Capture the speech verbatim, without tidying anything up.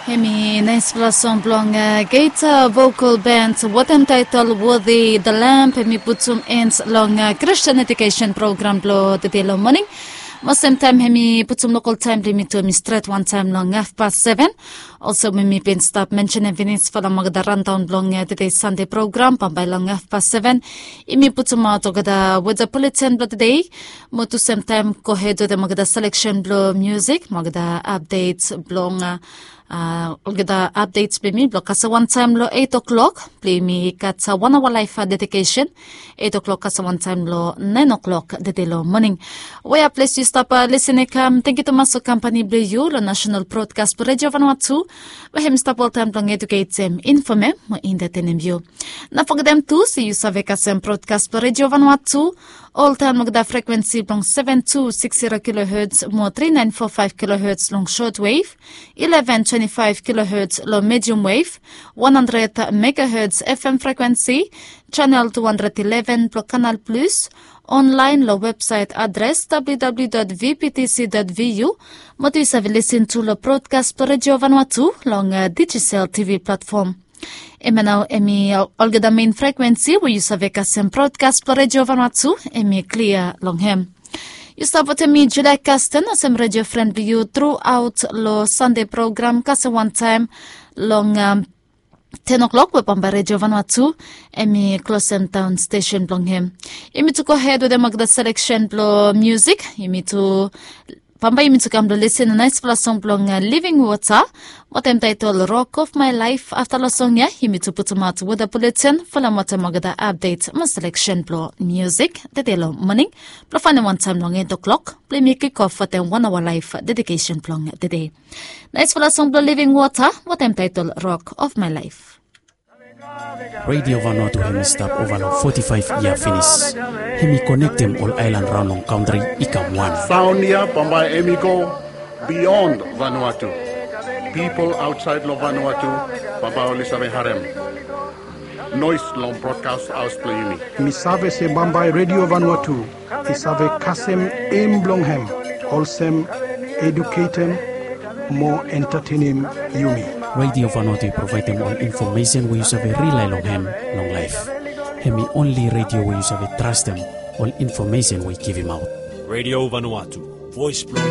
Hemi naispela song blong Gator Vocal Band wetem taitol Worthy the Lamb. Hemi putum ens long Christian Education Program blong tede long moning. Mo semtaem hemi putum lokal taem blong yumi tu hemi stret wantaem long hafpas seven. Olsem we mi bin stap mensenem finis falem olgeta randaon blong tede Sande program, bambae long hafpas seven yumi putumaot olgeta weda buleten blong tede. Mo tu semtaem gohed wetem olgeta seleksen blong musik mo olgeta apdet blong olgeta apdet blong yumi blong kasem wantaem long eit o'klok blong yumi gat wan aoa laef dedikesen. Eit o'klok kasem wantaem long naen o'klok tede long moning. Wea ples yu stap lisin i kam, tengiu tumas long kampani blong yu long National Broadcast Redio Vanuatu, we hem stap oltaem blong eduketem, infomem mo entetenem yu. No fogetem tu se yu save kasem broadcast blong Redio Vanuatu oltaem long olgeta frekwensi blong seven two six zero kilohertz mo three nine four five kilohertz long shortwave, eleven twenty-five kilohertz long medium wave, one hundred megahertz F M frekwensi, channel two hundred eleven blong Canal Plus, online long website adres W W W dot V B T C dot V U. Mo tu yu save lisin tu long broadcast blong Redio Vanuatu long Digicel T V platform. Hemia nao hemi olgeta mein frekwensi we yu save kasem broadcast blong Redio Vanuatu, hemi klia long hem. Yu stap wetem mi Julia Kasten olsem redio fren blong yu truaot long Sande program kasem wantaem long ten o'klok we bambae Redio Vanuatu hemi klosem daon stesen blong hem. Yumi tu gohed wetem olgeta seleksen blong musik. Yumi tu bambae yumi tu kam blong lisin long naespela song blong Living Water wetem taetol Rock of My Life. Afta long song ya yumi tu putumaot weda buleten falem wetem olgeta apdet mo seleksen blong musik tede long moning blong faenem wantaem long eit o'klok blong yumi kikof wetem wan aoa laef dedikesen blong tede. Naespela song blong Living Water wetem taetol Rock of My Life. Redio Vanuatu hemi stap ova long foti faef yia finis. Hemi konektem ol aelan raon long kantri i kam wan. Saon ya bambae hemi go bion Vanuatu. Pipol aotsaed long Vanuatu bambae oli save harem noes long brodkas haos blong yumi. Mi save se bambae Redio Vanuatu i save kasem em blong hem olsem eduketem mo entatenem yumi. Redio Vanuatu i provaedem ol infomesen we yu save rilae long hem long laef. Hemi onli redio we yu save trastem ol infomesen we i givimaot. Redio Vanuatu, voes blong